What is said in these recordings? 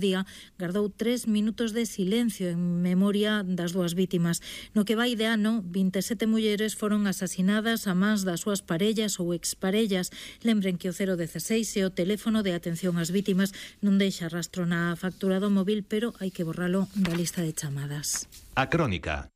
día gardou 3 minutos de silencio en memoria das dúas vítimas. No que vai de ano, 27 mulleres foron asasinadas a mans das súas parellas ou exparellas. Lembren que o 016 é o teléfono de atención ás vítimas, non deixa rastro na factura do móvil, pero hai que borralo da lista de chamadas. A Crónica.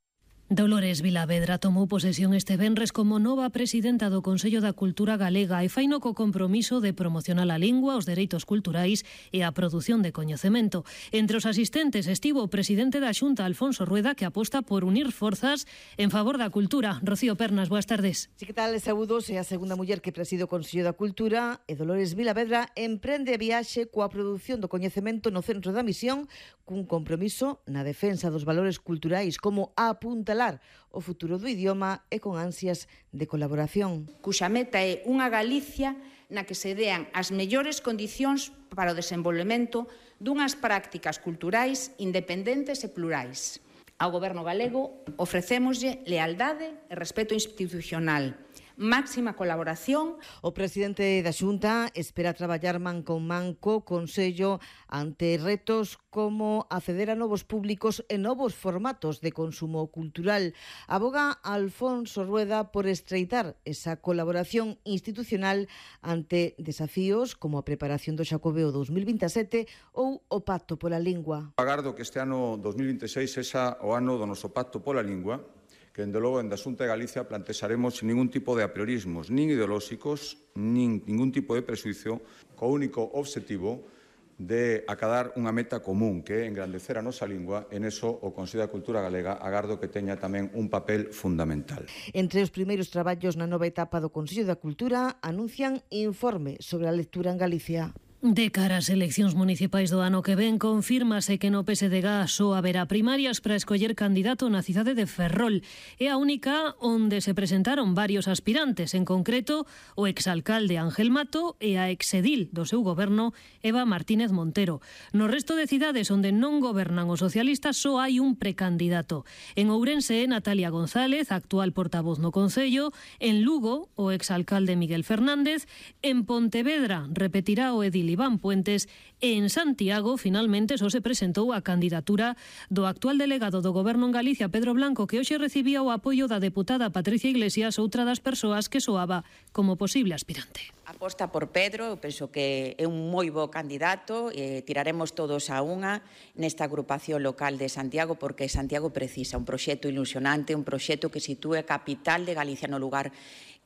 Dolores Vilavedra tomou posesión este venres como nova presidenta do Consello da Cultura Galega e faino co compromiso de promocionar a lingua, os dereitos culturais e a produción de coñecemento. Entre os asistentes estivo o presidente da Xunta, Alfonso Rueda, que aposta por unir forzas en favor da cultura. Rocío Pernas, boas tardes. Si, que tal, saúdos, é a segunda muller que preside o Consello da Cultura e Dolores Vilavedra emprende a viaxe coa produción do coñecemento no centro da misión cun compromiso na defensa dos valores culturais como apuntalar o futuro do idioma e con ansias de colaboración. Cuxa meta é unha Galicia na que se dean as mellores condicións para o desenvolvemento dunhas prácticas culturais independentes e plurais. Ao Goberno galego ofrecémoslle lealdade e respeto institucional, máxima colaboración. O presidente da Xunta espera traballar man con man co Consello ante retos como acceder a novos públicos e novos formatos de consumo cultural. Aboga Alfonso Rueda por estreitar esa colaboración institucional ante desafíos como a preparación do Xacobeo 2027 ou o Pacto pola Lingua. Agardo que este ano 2026 sexa o ano do noso Pacto pola Lingua, que, dende logo, en da Xunta de Galicia plantexaremos sin ningún tipo de apriorismos, nin ideolóxicos, nin ningún tipo de prexuicio, co único obxectivo de acadar unha meta común, que é engrandecer a nosa lingua, e neso o Consello da Cultura Galega agardo que teña tamén un papel fundamental. Entre os primeiros traballos na nova etapa do Consello da Cultura anuncian informe sobre a lectura en Galicia. De cara ás eleccións municipais do ano que ven, confírmase que no PSDG só haberá primarias para escoller candidato na cidade de Ferrol. É a única onde se presentaron varios aspirantes, en concreto o exalcalde Ángel Mato e a exedil do seu goberno Eva Martínez Montero. No resto de cidades onde non gobernan os socialistas só hai un precandidato. En Ourense, Natalia González, actual portavoz no Concello. En Lugo, o exalcalde Miguel Fernández. En Pontevedra, repetirá o edil Iván Puentes, e en Santiago finalmente só se presentou a candidatura do actual delegado do Goberno en Galicia, Pedro Blanco, que hoxe recibía o apoio da deputada Patricia Iglesias, outra das persoas que soaba como posible aspirante. Aposta por Pedro, eu penso que é un moi bo candidato, tiraremos todos a unha nesta agrupación local de Santiago, porque Santiago precisa un proxecto ilusionante, un proxecto que sitúe a capital de Galicia no lugar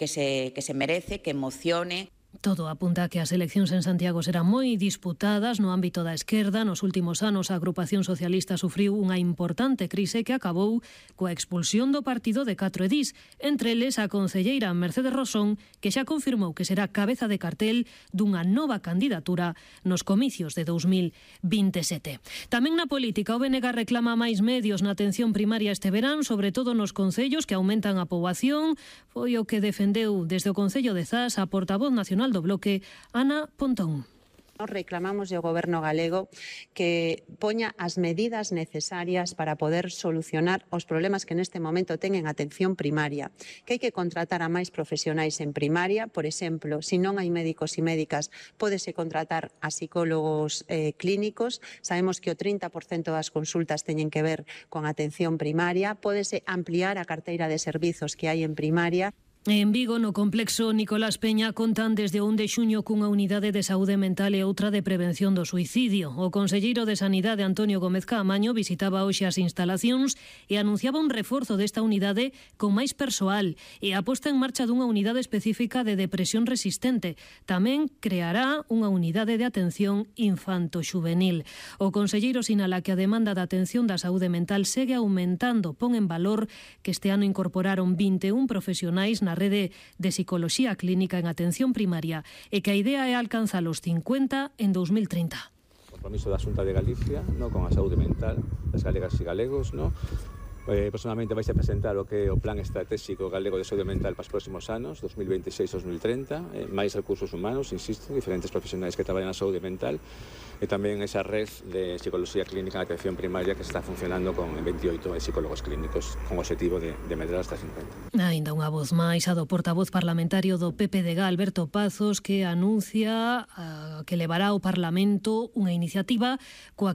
que se merece, que emocione. Todo apunta a que as eleccións en Santiago serán moi disputadas no ámbito da esquerda. Nos últimos anos a agrupación socialista sufriu unha importante crise que acabou coa expulsión do partido de 4 edís, entre eles a concelleira Mercedes Rosón, que xa confirmou que será cabeza de cartel dunha nova candidatura nos comicios de 2027. Tamén na política, o BNG reclama máis medios na atención primaria este verán, sobre todo nos concellos que aumentan a poboación. Foi o que defendeu desde o Concello de Zas a portavoz nacional do Bloque, Ana Pontón. Nos reclamamos ao Goberno galego que poña as medidas necesarias para poder solucionar os problemas que neste momento ten en atención primaria, que hai que contratar a máis profesionais en primaria. Por exemplo, se non hai médicos e médicas, pódese contratar a psicólogos clínicos. Sabemos que o 30% das consultas teñen que ver con atención primaria. Pódese ampliar a carteira de servizos que hai en primaria. En Vigo, no complexo Nicolás Peña, contan desde o 1 de xuño cunha unidade de saúde mental e outra de prevención do suicidio. O conselleiro de Sanidade, Antonio Gómez Caamaño, visitaba hoxe as instalacións e anunciaba un reforzo desta unidade con máis persoal e a posta en marcha dunha unidade específica de depresión resistente. Tamén creará unha unidade de atención infanto-xuvenil. O conselleiro sinala que a demanda de atención da saúde mental segue aumentando. Pon en valor que este ano incorporaron 21 profesionais na rede de psicoloxía clínica en atención primaria e que a idea é alcanzar os 50 en 2030. O compromiso da Xunta de Galicia, con a saúde mental das galegas e galegos, Personalmente vais a presentar o que é o Plan Estratégico Galego de Saúde Mental para os próximos anos, 2026-2030, máis recursos humanos, insisto, diferentes profesionais que traballan na saúde mental, e tamén esa red de psicología clínica de atención primaria que está funcionando con 28 psicólogos clínicos, con o objetivo de medrar hasta 50. Ainda unha voz máis, a do portavoz parlamentario do PPDG, Alberto Pazos, que anuncia que levará ao Parlamento unha iniciativa coa